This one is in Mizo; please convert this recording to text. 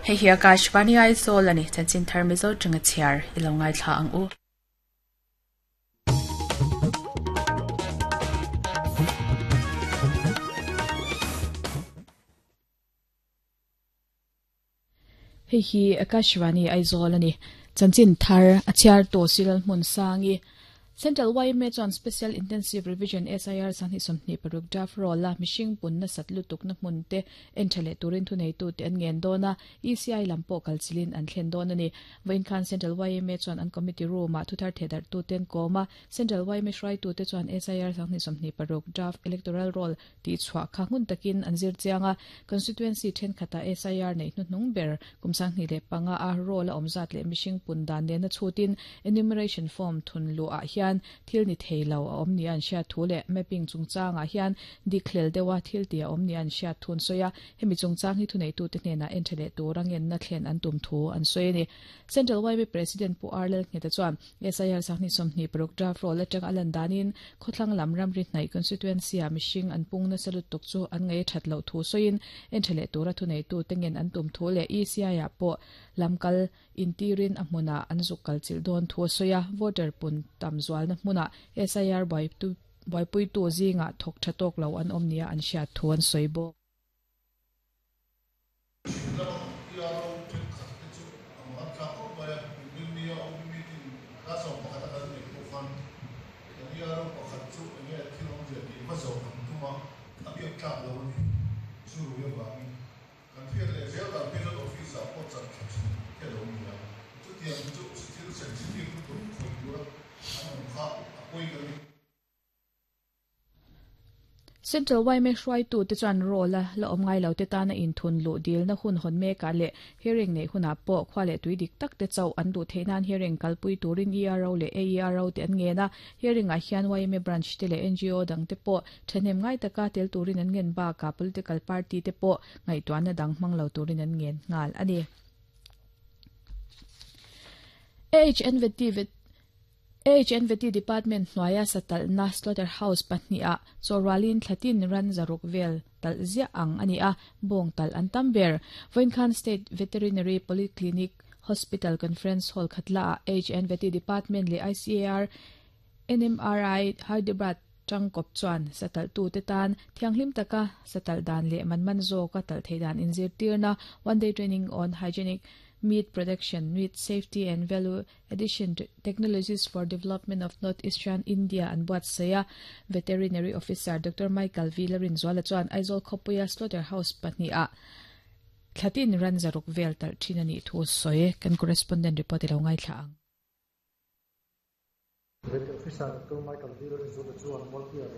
Hei hi Akashvani Aizawl a ni, chanchin thar Mizo tanga chhiar i lo ngaithla ang u. Hei hi Akashvani Aizawl a ni, chanchin thar a chhiar tawh Silal hmun sangi. Central yma chuan Special Intensive Revision, SIR, 2026 draft roll a mihring pun nasat lutukna hmun te en tha leh turin thuneitute an ngen dawn a, ECI lam pawh kalchilhin an thlen dawn a ni. Vawiin khan Central yma chuan an committee room-ah thuthar thehdarhtute an kawm a, Central yma hruaitute chuan SIR 2026 draft electoral roll tih chhuah kha hmun takin an zir chiang a, constituency thenkhatah SIR neih hnuhnung ber kum 2005 a roll a awm zat leh mihring pun dan nena chhutin enumeration form thun luhah hian thil ni thei lo a awm nia an hriat thu leh mapping chungchangah hian dik hlel deuha thil tih a awm nia an hriat thu an sawi a, hemi chungchang hi thuneitute hnenah en tha leh tura ngenna thlen an tum thu an sawi a ni. Central YB President Pu R Lalngheta chuan SIR 2026 draft roll atanga a lan danin khawthlang lam ramri hnaih constituency-ah mihring an pung nasa lutuk chu an ngaih a that loh thu sawiin en tha leh tura thuneitute ngen an tum thu leh ECI-ah pawh lam kal intirin a hmunah an zuk kal chilh dawn thu a sawi a, voter pun tam zualna hmunah SIR buaipuitu zingah thawk tha tawk lo an awm nia an hriat thu an sawi bawk. Chhim lama kan PRO thenkhat te chu a mangan thlak khawp mai a, Inrinnia OB meeting class awm pakhata kan neih pawh khan kan ERO pakhat chu enge thil awmzia tih va zawh kan tum a, a biak tlak lo a ni. Chu rui avangin kan hriat leh zel dan phei chuan office ah pawh chan thla chhun te a lo ni a, chutiang chu thil sensitive lutuk khawih tura an awm kha a pawi ka ni. Central yma hruaitute chuan roll a la awm ngai lote tana inthun luh dilna hun hawn mekah leh hearing neih hunah pawh khua leh tui dik tak te chauh an duh theih nan hearing kalpui turin ERO leh AERO te an ngen a. Hearing ah hian yma branch te leh ngo dang te pawh thahnem ngai taka tel turin an ngen bakah political party te pawh ngaihtuahna dang hmang lo turin an ngen nghal a ni. AHNVT AHNVT Department hnuaia satalhna Slaughter House pahniha chawhrualin thlatin ran zaruk vel talh ziah ang a ni a, bawng talh an tam ber. Vawiin khan State Veterinary Polyclinic Hospital Conference Hall khatlaah AHNVT Department leh ICAR NMRI Hyderabad tangkawp chuan satalhtute tan thianghlim taka satalh dan leh man man zawka talh theih dan inzirtirna One Day Training on Hygienic Meat Production, Meat Safety and Value Addition Technologies for Development of North Eastern India an buatsaih a, Veterinary Officer Doctor Michael V. Larinzuala chuan Aizawl khawpuia Slaughter House pahnihah thlatin ran zaruk vel talh thin a nih thu a sawi. Kan correspondent report i lo ngaithla ang. Veterinary Officer Doctor Michael V. Larinzuala chuan Mualpuia leh.